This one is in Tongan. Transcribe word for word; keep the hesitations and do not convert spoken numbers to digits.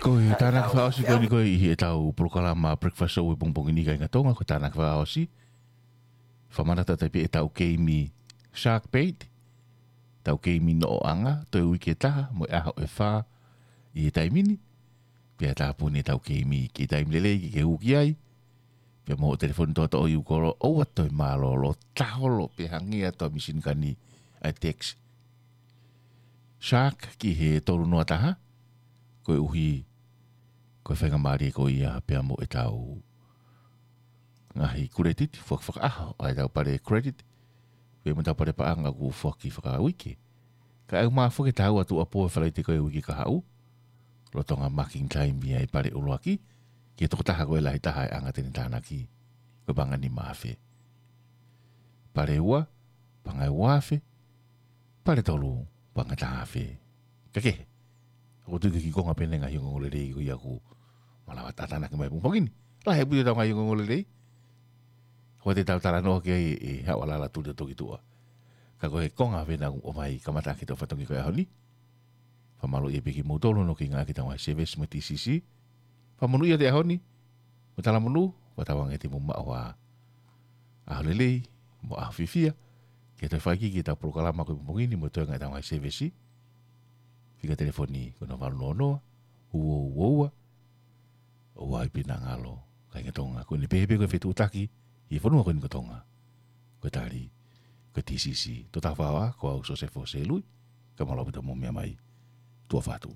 Ko e tānaki fakaʻosi ko eni ko ē ʻi heʻetau polokalama Breakfast Show he pongipongi ni, kāinga Tonga, ko e tānaki fakaʻosi. Fakamanatu atu pē ʻetau keimi Shark Bait, ʻetau keimi noʻoʻanga, toe uike ʻe taha mo e ʻaho ʻe fā ʻi he taimi ni. Pea tāpuni ʻetau keimi ki he taimi lelei ke ke hū ki ai. Pea mo e telefoni toʻotoʻo ʻi ʻū kolo, ʻoua toe mālōlō, taholo pē hangē atu ʻa e mīsini kani ʻa e text Shark ki he tolu noa taha, koeʻuhi ko e faingamālie ko ia pea mo ʻetau ngaahi credit, foaki fakaʻaho ʻa ʻetau pale credit, pea mo ʻetau pale paʻanga kuo foaki fakauike. Kae ʻumaʻā foki e taha ua tuʻuapō he Falaite ko ē uike kahaʻu, lolotonga marking time ia ʻa e pale ʻuluaki, ki he tokotaha ko ē lahi taha ʻe anga ʻene tānaki, ko e paʻanga ʻe nima afe. Pale ua, paʻanga ʻe ua afe, pale tolu, paʻanga ʻe taha afe. Ka kehe, ʻoku ou tui ko e kiʻi konga pē eni e ngaahi ongoongolelei ko ia kuo malava tānaki mai he pongipongi ni. Lahi ʻaupito ʻetau ngaahi ongoongolelei. Ko ʻetau talanoa ki ai ʻe haʻu ʻa Lala Tuli ʻo toki tuʻa. Ka ko e konga pē ena ʻoku ʻomai kamata ki heʻetau fatongia ko ia he ʻaho ni. Fakamālō ia pē kimoutolu hono kiʻi ngāueʻaki ʻetau ngaahi service mo e T C C. Fakamonūʻia atu e ʻaho ni, mo e talamonū, ʻoku tauange te mou maʻu ha ʻaho lelei mo e ʻaho fiefia, ke toe fai ki heʻetau polokalama ko e pongipongi ni mo e toenga ʻetau ngaahi service. Fika telefoni ko hono valu noa noa, ua ua ua ua. ʻOua ʻe pehē naʻa ngalo, kāinga Tonga, ko eni pē pē ko e fetuʻutaki ʻi he fonua ko eni ko Tonga. Ko e tali, ko e T C C. Toʻo taha fā ua, ko au Sosefo Selui, ka mālō ʻaupito hoʻomou meʻa mai. Tuʻa ʻofa atu.